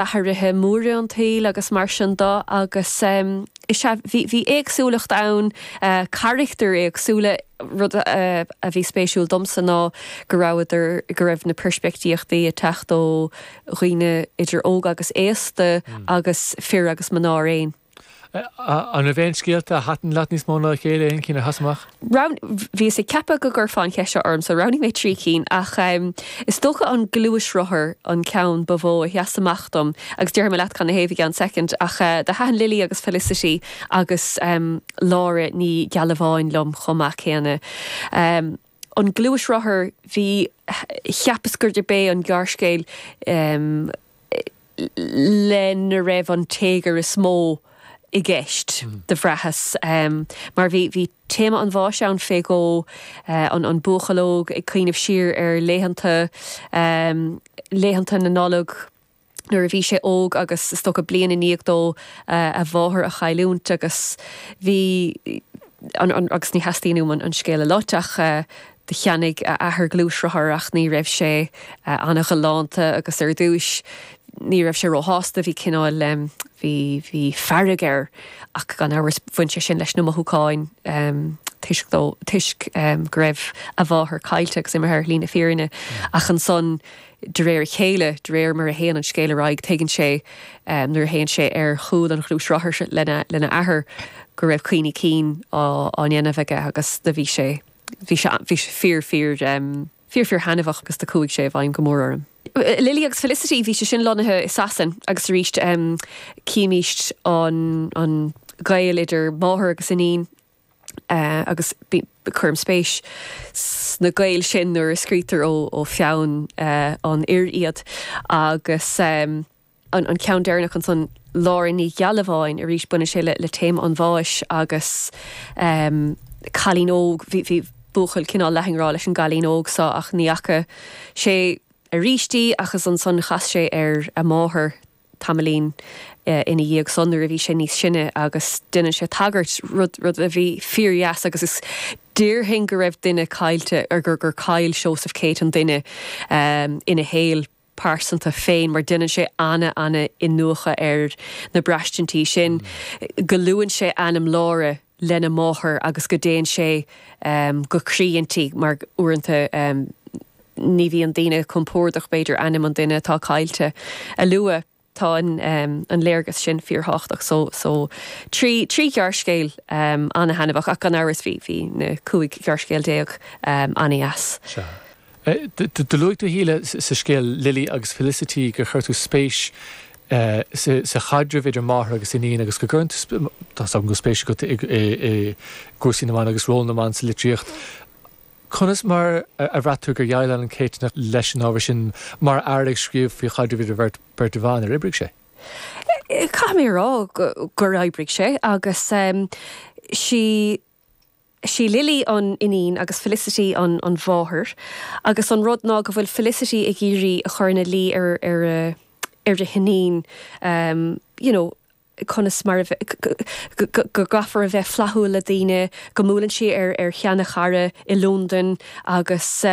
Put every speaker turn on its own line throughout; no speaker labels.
Athruithe móra an tsaoil agus mar sin de agus is ea, bhí, bhí éagsúlacht ann, carachtair éagsúla. Rud a bhí spéisiúil domsa ná go rabhadar, go raibh na peirspictíochtaí ag teacht ó dhaoine idir óg agus aosta agus fir agus mná araon.
An raibh aon scéalta a thaitin leat níos mó ná a chéile, aon chinn a sheas amach?
Bhíos ag ceapadh go gcuirfeá an cheist seo orm so roghnaigh mé 3 cinn ach is dócha an gluaisrothar an ceann ba mhó a sheas amach dom agus déarfaidh mé leat cad 'na thaobh i gceann soicind ach do thaitin Lily agus Felicity agus Lára Ní Ghealbháin liom chomh maith céanna. An gluaisrothar, bhí, cheapas gurb é an gearrscéal lena raibh an téagar is mó i gceist, do bhraitheas, mar bhí, bhí téama an bháis ann fé dhó, an, an buachaill óg ag cuimhneamh siar ar laethanta, laethanta na Nollag nuair a bhí sé óg agus is dócha bliain i ndiaidh dó a mháthair a chailliúint agus bhí, an, an, agus ní theastaíonn uaim an, an scéal a loit ach do cheannaigh a athair gluaisrothar ach ní raibh sé ana-ghalánta agus ar dtúis ní raibh sé róshásta, bhí cineál, bhí, bhí fearg air ach gan amhras bhain sé sin leis na mothúcháin toisc dó, toisc go raibh a mháthair caillte agus imithe ar shlí na fírinne ach ansan de réir a chéile, de réir mar a théann an scéal ar aghaidh tuigeann sé nuair a théann sé ar chúl an ghluaisrothair lena, lena athair go raibh cuimhní cinn á, á ndéanamh aige agus do bhí sé. Bhí sé, bhí sé fíor, fíor, fíor, fíor thaitneamhach agus do chuaigh sé i bhfeidhm go mór orm. Lily agus Felicity, bhí sé sin lonnaithe i Sasain agus arís címíst an, an gaol idir máthair agus iníon agus cuirim spéis sna gaoil sin nuair a scrítear ó, ó pheann an fhir iad agus. An ceann deireanach ansan, Lára Ní Ghealbháin, arís baineann sé le téama an bháis agus cailín óg, bhí buachaill cineál leath i ngrá leis an gcailín óg seo ach ní fhaca sé arís í ach is ansan chas sé ar a máthair tamaillín ina dhiaidh san nuair a bhí sé níos sine agus déanann sé tagairt, rud rud a bhí fíordheas agus is déarfainn go raibh duine caillte, gur gur chaill Seosamh Céitinn duine ina shaol. pearsanta féin mar déanann sé ana-ana-iniúchadh ar na braistintí sin, go luann sé ainm Lára lena máthair agus go dtéann sé go croí inti mar uaireanta ní bhíonn daoine compordach b'fhéidir ainm an duine atá caillte a lua. Tá an léargas sin fíorthábhachtach so so 3 ghearrscéal ana-thaitneamhach ach gan amhras bhí bhí na 15 ghearrscéal ana-dheas.
Sea. Do luaigh tú, a Shíle, sa scéal Lily agus Felicity gur chuir tú spéis sa chaidreamh idir máthair agus iníon agus go gcuireann tú, tá 's agam go bhfuil spéis agat i gcúrsaí na mban agus ról na mban sa litríocht. Conas mar a bhraith tú gur dhéileáil an Céitinneach leis an ábhar sin mar fhear ag scríobh faoi chaidreamh idir bheirt bhan? Ar oibrigh sé?
Caithfidh mé a rá gur oibrigh sé agus sí sí Lily an iníon agus Felicity an an mháthair agus an rud ná go bhfuil Felicity ag iarraidh a chur ina luí ar ar a ar a hiníon you know conas mar a go gcaithfear a bheith flaithiúil le daoine, go mbuaileann sí ar ar sheana-chara i Londain agus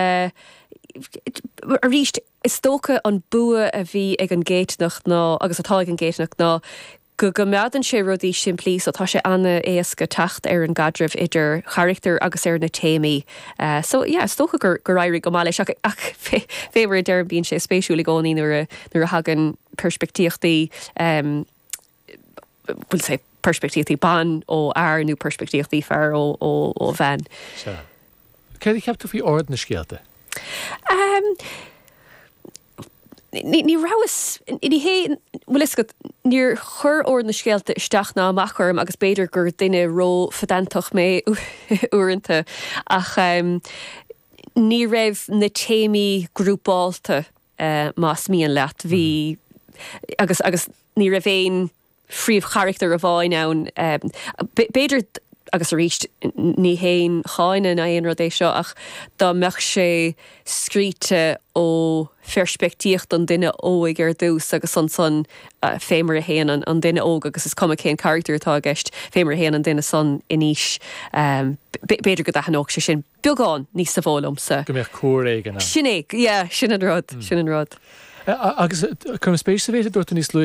arís is dócha an bua a bhí ag an gCéitinneach ná, agus atá ag an gCéitinneach ná go gcoimeádann sé rudaí simplí so tá sé an-éasca teacht ar an gcaidreamh idir charachtair agus ar na téamaí. So yeah is dócha gur gur éirigh go maith leis ach ach fé fé mar a deirim bíonn sé spéisiúil i gcónaí nuair a nuair a thagann peirspictíochtaí bhuel say peirspictíochtaí ban ó fhear nó peirspictíochtaí fear ó ó ó bhean.
Sea. Céard a cheap tú faoi ord na scéalta?
Ní ní rabhas ní hé bhfuil fhios agat níor chuir ord na scéalta isteach ná amach orm agus b'fhéidir gur duine ró-phedantach mé uaireanta ach ní raibh na téamaí grúpálta más mian leat. Bhí, agus, agus ní raibh aon phríomhcharachtar amháin ann. B'fhéidir, agus arís, ní haon cháineadh ná aon rud é seo, ach dá mbeadh sé scríte ó pheirspictíocht an duine óig ar dtús agus ansan fé mar a théann an duine óg, agus is cuma cén carachtar atá i gceist, fé mar a théann an duine san in aois, b'fhéidir go dtaitneodh sé sin. beagán níosa mhó liomsa.
Go mbeadh cuar éigin
ann. Sin é, yeah, sin an rud, sin an rud.
Agus cuirim spéis sa mhéid a dúirt tú níos luaithe.